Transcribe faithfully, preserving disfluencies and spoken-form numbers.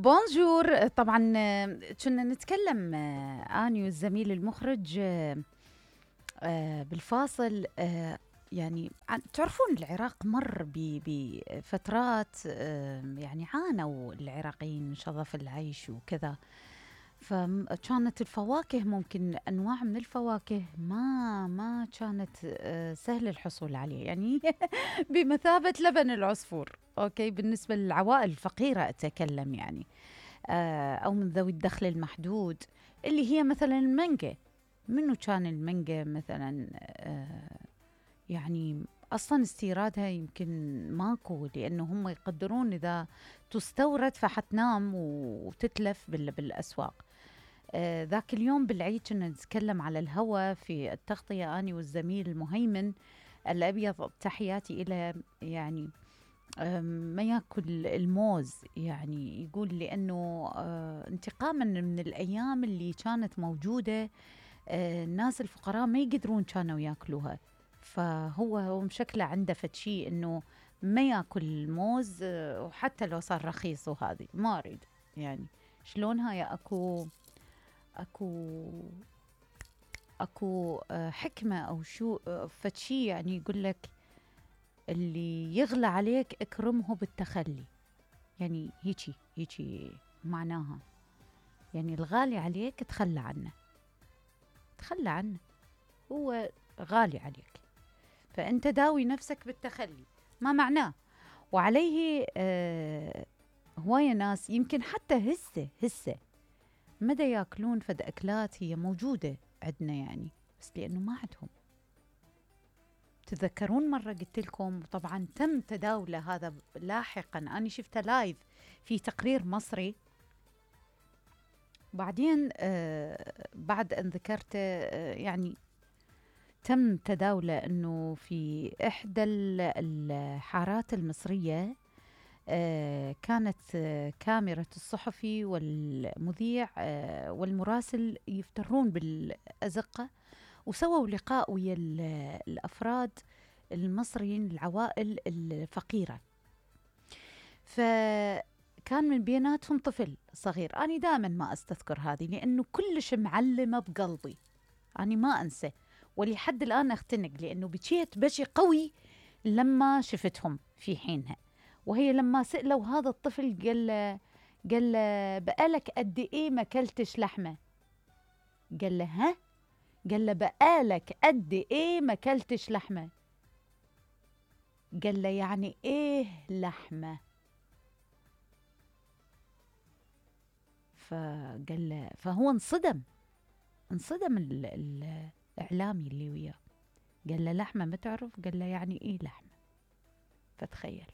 بونجور. طبعا آه، كنا نتكلم آه، اني والزميل المخرج آه، آه، بالفاصل آه، يعني عن- تعرفون العراق مر ب- بفترات آه، يعني عانوا العراقيين من شظف العيش وكذا. فكانت الفواكه ممكن انواع من الفواكه ما ما كانت آه، سهل الحصول عليه، يعني بمثابة لبن العصفور. اوكي، بالنسبة للعوائل الفقيرة اتكلم يعني، آه، او من ذوي الدخل المحدود، اللي هي مثلا المانجا. منو كان المانجا مثلا آه، يعني اصلا استيرادها يمكن ماكو، لانه هم يقدرون اذا تستورد فحتنام وتتلف بال- بالاسواق. آه، ذاك اليوم بالعيد كنا نتكلم على الهوى في التغطية أنا والزميل المهيمن الأبيض، تحياتي إلى يعني آم، ما ياكل الموز، يعني يقول لأنه آه، انتقاما من الأيام اللي كانت موجودة آه، الناس الفقراء ما يقدرون كانوا ياكلوها. فهو هو مشكله عنده فتشي انه ما ياكل الموز، آه، وحتى لو صار رخيص وهذه ما اريد. يعني شلون هاي اكو اكو اكو آه، حكمه او شو آه، فتشي، يعني يقول لك اللي يغلى عليك اكرمه بالتخلي. يعني هيجي هيجي معناها، يعني الغالي عليك تخلى عنه، تخلى عنه، هو غالي عليك، فأنت داوي نفسك بالتخلي ما معناه. وعليه آه هواية ناس يمكن حتى هسه هسه مدى ياكلون فد أكلات هي موجودة عندنا يعني، بس لأنه ما عندهم. تذكرون مرة قلت لكم، طبعا تم تداوله هذا لاحقا، أنا شفته لايف في تقرير مصري. بعدين آه بعد أن ذكرته آه يعني تم تداوله أنه في إحدى الحارات المصرية آه كانت آه كاميرا الصحفي والمذيع آه والمراسل يفترون بالأزقة، وسووا لقاء ويا الأفراد المصريين العوائل الفقيرة. فكان من بيناتهم طفل صغير، أنا دائما ما أستذكر هذه لأنه كلش معلمة بقلبي، أنا ما أنسى ولحد الآن أختنق، لأنه بكيت بشي قوي لما شفتهم في حينها. وهي لما سألوا هذا الطفل قال له قال له بقالك قد إيه ما كلتش لحمة؟ قال له ها؟ قال له بقالك قد إيه ما كلتش لحمة؟ قال له يعني إيه لحمة؟ فقال له، فهو انصدم انصدم ال ال الإعلامي اللي وياه. قال له لحمة ما تعرف؟ قال له يعني إيه لحمة؟ فتخيل.